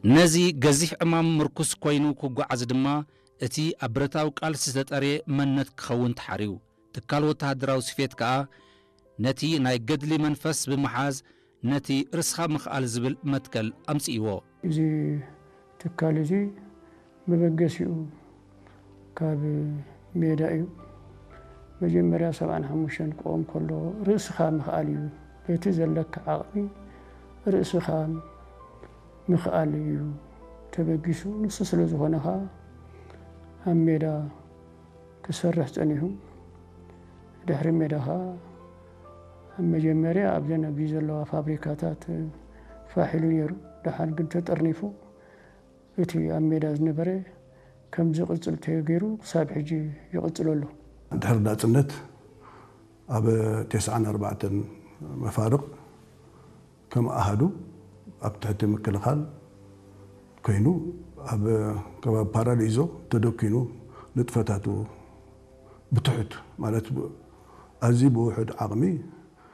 ነዚ ገዚፍ ዕማም ምርኩስ ኮይኑ ክጓዓዝ ድማ፣ እቲ ኣብ ብረታዊ ቃልሲ ዝተጠርየ መንነት ክኸውን ተሓርዩ። ትካል ወተሃደራዊ ስፌት ከኣ፣ ነቲ ናይ ገድሊ መንፈስ ብምሓዝ፣ ነቲ ርእስኻ ምኽኣል ዝብል መትከል ኣምጽእዎ። እዚ ትካል እዚ መበገሲኡ ካብ ሜዳ እዩ። መጀመርያ ሰብዓን ሓሙሽተን ክቆም ከሎ ርእስኻ ምኽኣል እዩ። በቲ ዘለካ ዓቕሚ ርእስኻ ምኽኣል እዩ ተበጊሱ። ንሱ ስለ ዝኾነ ኸዓ ኣብ ሜዳ ክሰርሕ ጸኒሑ። ድሕሪ ሜዳ ኸዓ ኣብ መጀመርያ ኣብዘን ኣብዚ ዘለዋ ፋብሪካታት ፋሕ ኢሉ ነይሩ። ደሓር ግን ተጠርኒፉ እቲ ኣብ ሜዳ ዝነበረ ከም ዝቕጽል ተገይሩ ክሳብ ሕጂ ይቕጽል ኣሎ። ድሕሪ ናጽነት ኣብ ተስዓን ኣርባዕተን መፋርቕ ከም ኣሃዱ ኣብ ትሕቲ ምክልኻል ኮይኑ ኣብ ከባቢ ፓራዲዞ ተደኪኑ ንጥፈታቱ ብትሑት ማለት ብ-፣ ኣዝዩ ብውሑድ ዓቕሚ